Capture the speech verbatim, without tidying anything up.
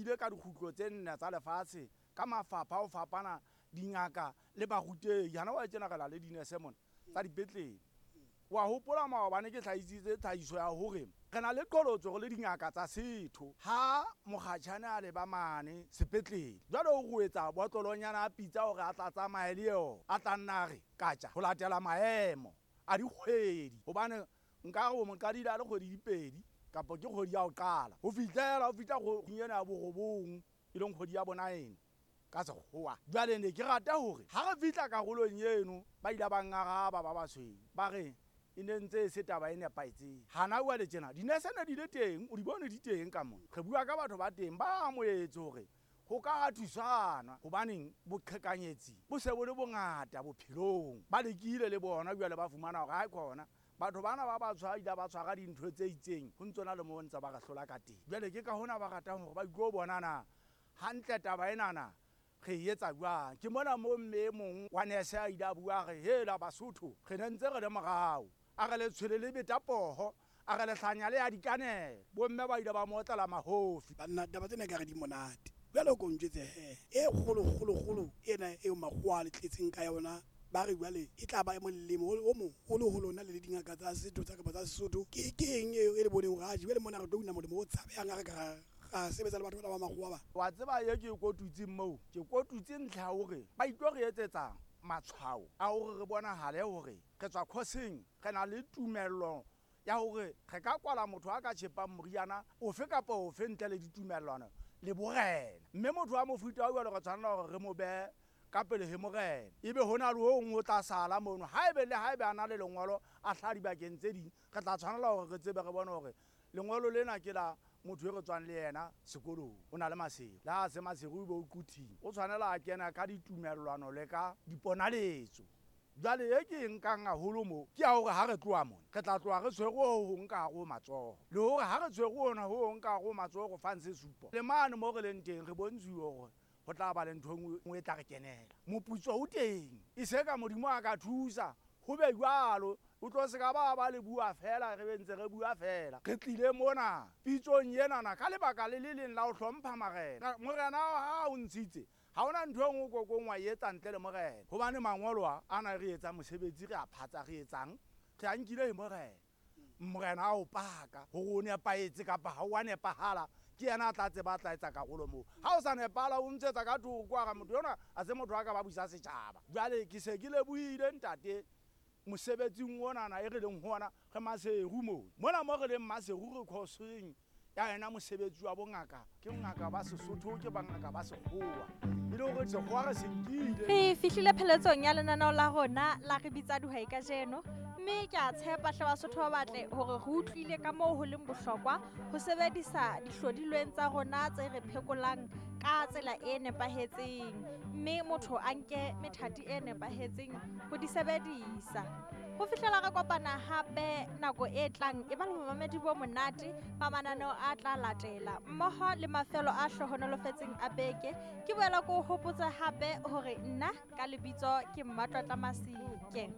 buile ka dikgutlo tse nne tsa lefatshe ka mafapha a ho fapana, dingaka le barutehi. Hana wa tjena re na le dinese mona tsa dipetlele. Wa hopola maobane ke hlahisitse tlhahiso ya hore re na le qholotso re le dingaka tsa setho ha mokgatjhane a leba mane sepetlele. Jwale o re o etsa botlolonyana a pitsa hore a tla tsamaye le yona, a tla nna re katja ho latela maemo a dikgwedi. Hobane nka re o mo qadile a le kgwedi di pedi kapa ke kgwedi ya ho qala ho fihlela ho fihla kgweding ena ya borobong, e leng kgwedi ya bonaene ka sekgowa. Jwale ne ke rata hore ha re fihla karolong eno, ba ile ba ngaraba ba basweu, ba re e ne ntse e se taba e nepahetseng. Hana jwale tjena dinese ne di le teng, o di bone di teng ka mona. Re bua ka batho ba teng ba amohetse hore ho ka thusana, hobaneng boqhekanyetsi bo se bo le bongata bophelong. Ba lekile le bona jwale ba fumana hore ha khona batho bana ba ba tshwara ba tshwara dintho tse itseng, ho ntsona le mo ntse ba re hlola ka teng. Jwale ke ka hona ba ratang hore ba itlo bona na hantle taba enana re e etsa jwang. Ke mona mo mme e mong wa nese a ile a bua re hela Basotho re ne ntse re le morao, a re letshwele le beta poho, a re lehlanya le ya dikanela. Bomme ba ile ba mo otlela mahofi. Banna taba tsena ekare di monate. Jwale o ko njwetse he, e kgolo kgolo kgolo ena eo makgowa a le tletseng ka yona, ba re jwale e tla ba molemo o moholo ho lona le le dingaka tsa setho tsa kapa tsa Sesotho. Ke ke eng eo e le boneng hore atjhe jwale mona re tlo una molemo o tshabehang ha re ka ra ra sebetsa le batho bana ba makgowa ba? Wa tseba e ke e kotutseng moo, ke kotutse ntlha ya hore ba itlo re etsetsa matshwao a hore re bonahale hore re tswa khoseng, re na le tumello ya hore re ka kwala motho a ka tjhepang moriana ofe kapa ofe ntle le ditumellano le borena. Mme motho wa mofuta wa jwalo re tshwanela hore re mo behe ka pele ho morena, ebe hona le o nngwe o tla sala mono. Haebe le haebe a na le lengolo a hlaha dibakeng tse ding, re tla tshwanela hore re tsebe re bone hore lengolo lena ke la motho e re tswang le yena sekolong, o na le masego. Le ha se masego ebe o quthile, o tshwanela a kena ka ditumellano le ka diponaletso. Jwale e ke e nkang haholo mo ke ya hore ha re tloha mona, re tla tloha re tshwere ho hong ka hare ho matsoho, le hore ha re tshwere hona ho hong ka hare ho matsoho re fang sesupo. Le mane mo re leng teng re bontshuwe hore ho tla ba le ntho e nngwe e tla re kenela. Moputso o teng, e se ka Modimo a ka thusa ho be jwalo, o tlo se ka ba ba le bua fela, re be ntse re bua fela. Re tlile mona pitsong enana ka lebaka le le leng la ho hlompha marena. Morena ha o ntshitse, ha hona ntho e nngwe o kokong wa e etsa ntle le morena, hobane mangolo a ana re etsa mosebetsi, re a phatsa, re etsang, re a nkile ho morena. Morena a o paka hore o nepahetse kapa ha o a nepahala, ke yena a tla tseba a tla etsa karolo moo. Ha o sa nepahala o ntshetsa ka thoko, a re motho yona ha se motho a ka ba busa setjhaba. Jwale ke se ke lebohile ntate mosebetsing onana e re leng ho ona, re Maseru moo. Mona mo re leng Maseru re khoseng ya yena mosebetsi wa bongaka, ke bongaka ba Sesotho, ke bongaka ba Sekgowa, e le hore Sekgowa re se nkile. Re fihlile pheletsong ya lenaneo la rona la Re Bitsa Dihwai kajeno, mme ke a tshepa hle Basotho ba batle hore re utlwile ka moo ho leng bohlokwa ho sebedisa dihlodilweng tsa rona tse re phekolang ka tsela e nepahetseng, mme motho a nke methati e nepahetseng ho di sebedisa. Ho fihlela re kopana hape nako e tlang, e ba le bomamedi bo monate ba mananeo a tla latela mmoho le mafelo a hlohonolofetseng a beke. Ke boela ke o hopotsa hape hore nna ka lebitso ke Mmatlotla Masike.